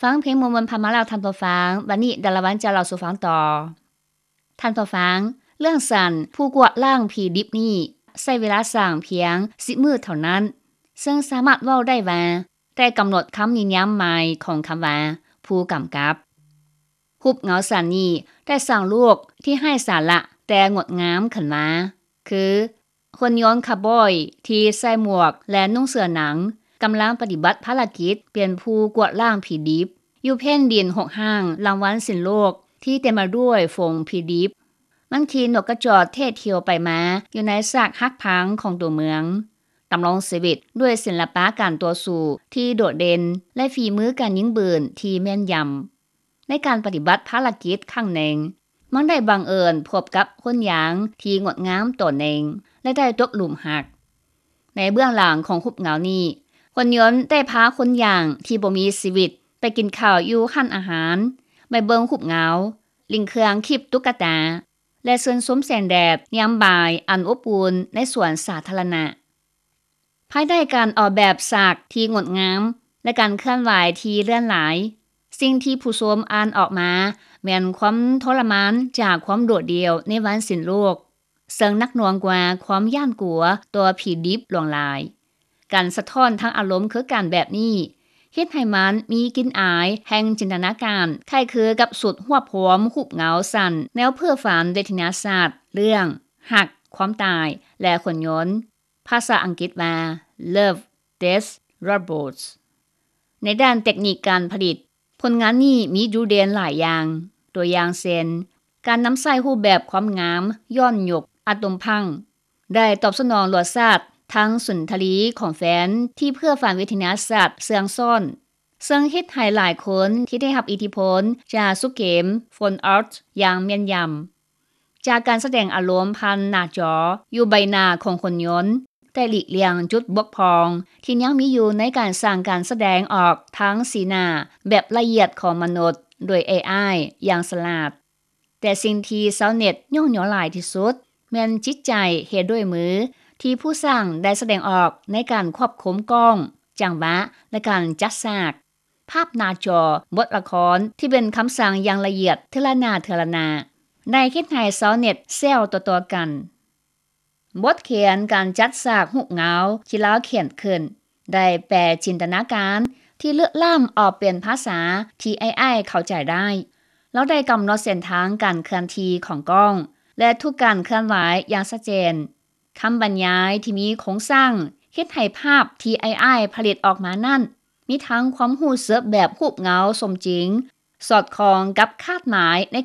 ຟັງເພງມ່ວນໆຜ່ານມາແລ້ວທ່ານຜູ້ຟັງ, ບັດນີ້ດາລາວັນຈະເລົ່າສູ່ຟັງຕໍ່. ທ່ານຜູ້ຟັງ, ເລື່ອງສັນຜູ້ກວາດລ້າງຜີດິບນີ້ ໃຊ້ເວລາສ້າງພຽງສິບມື້ເທົ່ານັ້ນ, ເຊິ່ງສາມາດເວົ້າໄດ້ວ່າ ໄດ້ກຳນົດຄຳນິຍາມໃໝ່ຂອງຄຳວ່າ ຜູ້ກຳກັບ. ຮູບເງົາສັນນີ້ໄດ້ສ້າງໂລກທີ່ໄຮ້ສາລະແຕ່ງົດງາມຂຶ້ນມາ, ຄື ຫຸ່ນຍົນຄາວບອຍທີ່ໃສ່ໝວກ ແລະ ນຸ່ງເສື້ອໜັງ ກຳລັງປະຕິບັດພາລະກິດເປັນຜູ້ກວາດລ້າງຜີດິບ ຢູ່ແຜ່ນດິນຮົກຮ້າງລາງວັນສິ້ນໂລກທີ່ເຕັມໄປດ້ວຍຝູງຜີດິບ. ມັນຂີ່ນົກກະຈອກເທດທ່ຽວໄປມາຢູ່ໃນຊາກຫັກພັງຂອງຕົວເມືອງ, ດຳລົງຊີວິດດ້ວຍສິລະປະການຕໍ່ສູ້ທີ່ໂດດເດັ່ນ ແລະ ຝີມືການຍິງປືນທີ່ແມ່ນຢຳ. ໃນການປະຕິບັດພາລະກິດຄັ້ງໜຶ່ງ, ມັນໄດ້ບັງເອີນພົບກັບຄົນຢາງທີ່ງົດງາມຕົວໜຶ່ງ ແລະ ໄດ້ຕົກຫຼຸມຮັກ. ໃນເບື້ອງຫຼັງຂອງຮູບເງົານີ້, ຫຸ່ນຍົນໄດ້ພາຄົນຢາງທີ່ບໍ່ມີຊີວິດໄປກິນເຂົ້າຢູ່ຮ້ານອາຫານ, ໄປເບິ່ງຮູບເງົາ, ຫຼິ້ນເຄື່ອງຄີບຕຸກກະຕາ ແລະ ຊື່ນຊົມແສງແດດຍາມບ່າຍອັນອົບອຸ່ນໃນສວນສາທາລະນະ. ພາຍໃຕ້ການອອກແບບສາກທີ່ງົດງາມ ແລະ ການເຄື່ອນໄຫວທີ່ເລື່ອນຫຼາຍ, ສິ່ງທີ່ຜູ້ຊົມອ່ານອອກມາແມ່ນຄວາມທໍລະມານຈາກຄວາມໂດດດ່ຽວໃນວັນສິ້ນໂລກ, ເຊິ່ງໜັກໜ່ວງກວ່າຄວາມຢ້ານກົວຕໍ່ຜີດິບຫຼວງຫຼາຍ. ການສະທ້ອນທາງອາລົມຄືກັນແບບນີ້ ເຮັດໃຫ້ມັນມີກິ່ນອາຍແຫ່ງຈິນຕະນາການຄ້າຍຄືກັບຊຸດຮວບຮວມຮູບເງົາສັ້ນແນວເພ້ອຝັນເວທະຍາສາດເລື່ອງ ຮັກ, ຄວາມຕາຍ ແລະ ຫຸ່ນຍົນ. ພາສາອັງກິດວ່າ Love, Death, Robots. ໃນດ້ານເຕັກນິກການຜະລິດ, ຜົນງານນີ້ມີຈຸດເດັ່ນຫຼາຍຢ່າງ, ຕົວຢ່າງເຊັ່ນ ການນຳໃຊ້ຮູບແບບຄວາມງາມຍ້ອນຍຸກ ອາໂຕມພັງ ໄດ້ຕອບສະໜອງລົດຊາດທັງສຸນທະລີຂອງແຟນທີ່ເພ້ອຝັນວິທະຍາສາດເຊື່ອງຊ້ອນ, ເຊິ່ງເຮັດໃຫ້ຫຼາຍຄົນທີ່ໄດ້ຮັບອິດທິພົນຈາກຊຸດເກມ Fallout ຢ່າງແມ່ນຢຳ. ຈາກການສະແດງອາລົມຜ່ານໜ້າຈໍຢູ່ໃບໜ້າຂອງຫຸ່ນຍົນ ແຕ່ຫຼີກລ່ຽງຈຸດບົກຜ່ອງທີ່ຍັງມີຢູ່ໃນການສ້າງການສະແດງອອກທາງສີໜ້າແບບລະອຽດຂອງມະນຸດໂດຍ ເອໄອ ຢ່າງສະຫຼາດ. ແຕ່ສິ່ງທີ່ຊາວເນັດຍ້ອງຍໍຫຼາຍທີ່ສຸດ ແມ່ນຈິດໃຈເຮັດດ້ວຍມືທີ່ຜູ້ສ້າງໄດ້ສະແດງອອກໃນການຄວບຄຸມກ້ອງ, ຈັງຫວະ ແລະ ການຈັດສາກ. ພາບໜ້າຈໍບົດລະຄອນທີ່ເປັນຄຳສັ່ງຢ່າງລະອຽດເທື່ອລະໜ້າເທື່ອລະໜ້າ ໄດ້ເຮັດໃຫ້ຊາວເນັດແຊວຕໍ່ໆກັນ. ບົດຂຽນການຈັດສາກຮູບເງົາທີ່ລາວຂຽນຂຶ້ນ ໄດ້ແປຈິນຕະນາການທີ່ເລິກລ້ຳອອກເປັນພາສາທີ່ ເອໄອ ເຂົ້າໃຈໄດ້. ລາວໄດ້ກຳນົດເສັ້ນທາງການເຄື່ອນທີ່ຂອງກ້ອງ ແລະ ທຸກການເຄື່ອນໄຫວຢ່າງຊັດເຈນ. ຄຳບັນຍາຍທີ່ມີໂຄງສ້າງເຮັດໃຫ້ພາບທີ່ ເອໄອ ຜະລິດອອກມານັ້ນ ມີທັງຄວາມຮູ້ສຶກແບບຮູບເງົາສົມຈິງ, ສອດຄ່ອງກັບຄາດໝາຍໃນການ